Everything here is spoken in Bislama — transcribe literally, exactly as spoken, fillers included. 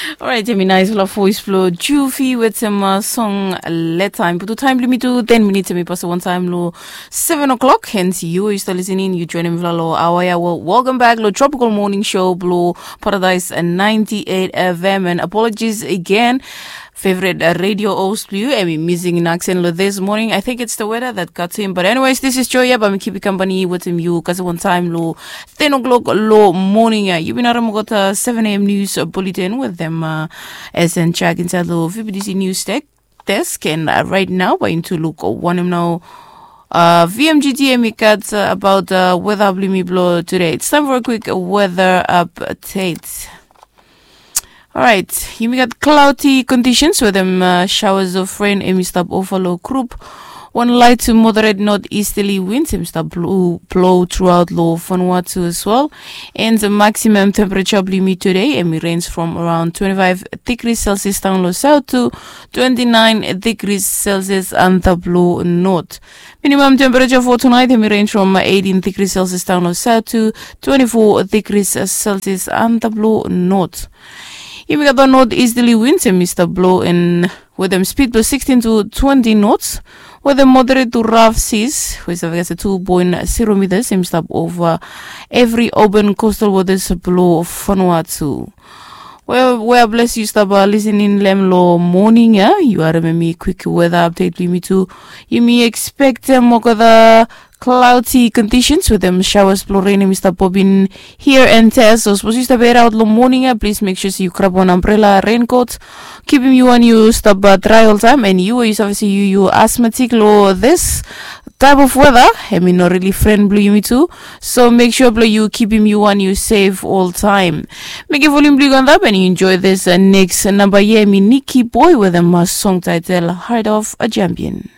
Orait, em i naisfala voes blong Juvi wetem song Let Time. Putu taem blong yumi tu ten minits, em i pasim wantaem long seven o'clock. Hens yu yu stap lisening, yu joinim mifala long aoa ya. Wel, welcome back long Tropical Morning Show blong Paradise ninety-eight F M. And apologies again, favorite radio host blong yu, em i missing in action long this morning. I think it's the weather that got him. But anyways, this is Joy ya, bae mi kipim kampani wetem yu kasem wantaem long ten o'clock long moning ya. Yu bin harem olgeta seven a.m. news bulletin wetem S N Chak insaed long V B T C News Tech Desk. And right nao bae yumi tu luk wanem nao V M G T em i gat abaot weather blong yumi blong today. It's time for a quick weather update. Orait, yumi gat cloudy conditions wetem showers of rain em i stap ova long group. Wan light to moderate northeasterly winds em i stap blo throughout long Vanuatu as well. And the maximum temperature blong yumi today em i range from around twenty-five degrees Celsius down long south to twenty-nine degrees Celsius antap long north. Minimum temperature for tonight em i range from eighteen degrees Celsius down long south to twenty-four degrees Celsius antap long north. Yumi gat wan northeasterly winds em i stap blo en wetem speed blong sixteen to twenty knots wetem moderate to rough seas we i save kasem two point zero meters em i stap ova evri open coastal waters blong Vanuatu. Wel, we a ples yu stap lisening long em long moning ya, yu harem hemi kwik weather update blong yumi tu. Yumi ekspektem olgeta cloudy conditions wetem showers blong rain hemi stap bobin here and there. So sapos yu stap head out long moning ya, plis mek sua se yu grab wan ambrela, raincoat. Kipim yu wan yu stap drai oltaem, and yu we yu save se yu yu asthmatic long this type of weather, hemi no really friend blong yumi tu. So mek sua blong yu kipim yu wan yu safe oltaem. Mekem volume blong yu go antap and yu enjoy this next namba ya, hemi Nikki Boy wetem song title Heart of a Champion.